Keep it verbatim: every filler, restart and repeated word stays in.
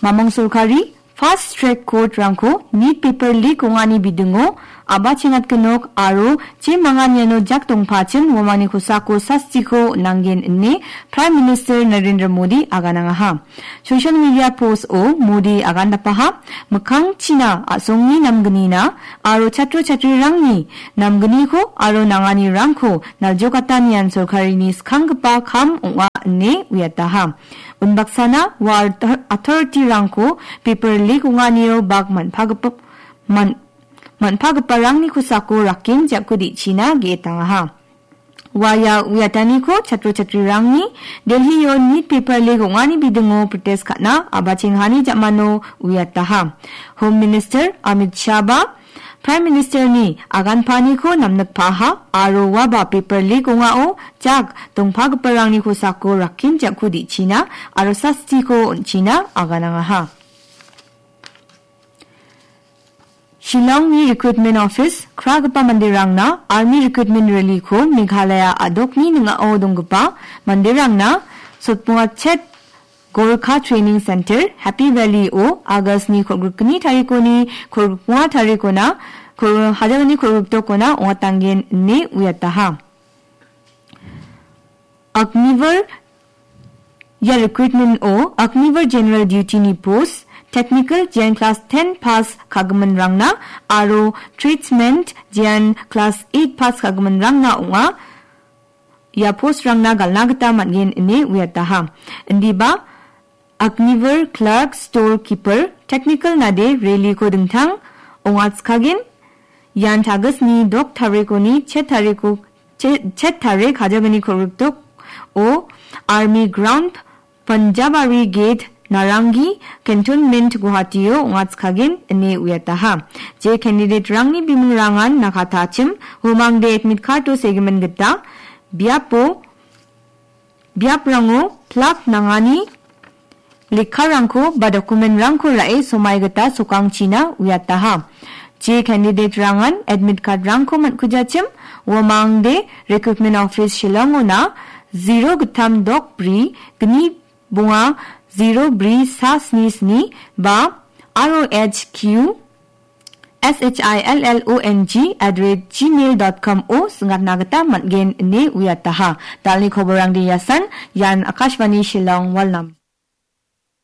Mamong sorkari fast track court-rangko nit paper leak ong·ani bidingo a·bachengatgenok aro je mangan iano jak dongpachim uamangni kosako sastiko on·angen ine Prime Minister Narendra Modi aganangaha. Social media post-o Modi agandapaha, mikkangchina a·songni namgnina aro chatro chatrirangni namgniko aro nanganirangko naljokatanian sorkarini skanggipa kam ong·a ine uiataha. Unbaksana ua author-, authority-rangko paper leak ong·anio bak man-, man-, man-, man·pagiparangni kosako rakken jako de·china ge·etangaha. Ua ia uiataniko chatro chatrirangni Delhi-o nit paper leak ong·ani bidingo protest ka·na a·bachenghani ja·mano uiataha. Home Minister Amit Shah ba Prime Minister-ni aganpaniko namnikpaha aro uaba paper leak ong·ao jak dongpagiparangni kosako rakken jako de·china aro sastiko on·china aganangaha. Shillongni Recruitment Office kragipa manderangna Army Recruitment Rally-ko Meghalaya a·dokni ning·ao donggipa manderangna Sotbungachet Gorkha Training Center, Happy Valley-o August-ni kolgrikgni tarikoni kolgrikbonga tarikona, kol-, hajagni kolgriktokona ong·atangen ine uiataha. Agniveer ia recruitment-o Agniveer General Duty-ni post, technical jean class ten pass ka·giminrangna aro tradesman jean class eight pass ka·giminrangna ong·a. Ia post-rangna gal·na gita man·gen ine uiataha. Indiba Agniveer Clerk Store Keeper Technical nade rally-ko dingtang ong·atskagen. Ian August-ni dok tarikoni chet tariko, che-, chet tarik hajagni kolgrikdok o Army Ground, Panjabari Gate, Narangi, Cantonment, Guwahati-o ong·atskagen ine uiataha. Je candidate-rangni bimingrangan nakatachim, umangde admit card-o segimin gita biapo biaprango plak nangani lekkarangko ba document-rangko ra·e somai gita sokangchina uiataha. Je candidate-rangan admit card-rangko man·kujachim, uamangde Recruitment Office Shillong-ona zero gittam dok bri gni bonga zero bri sa sni sni ba R O H Q S H I L L O N G at the rate gmail dot com o singatna gita man·gen ine uiataha. Dalni koborangde iasan, ian Akashvani Shillong, Walnam.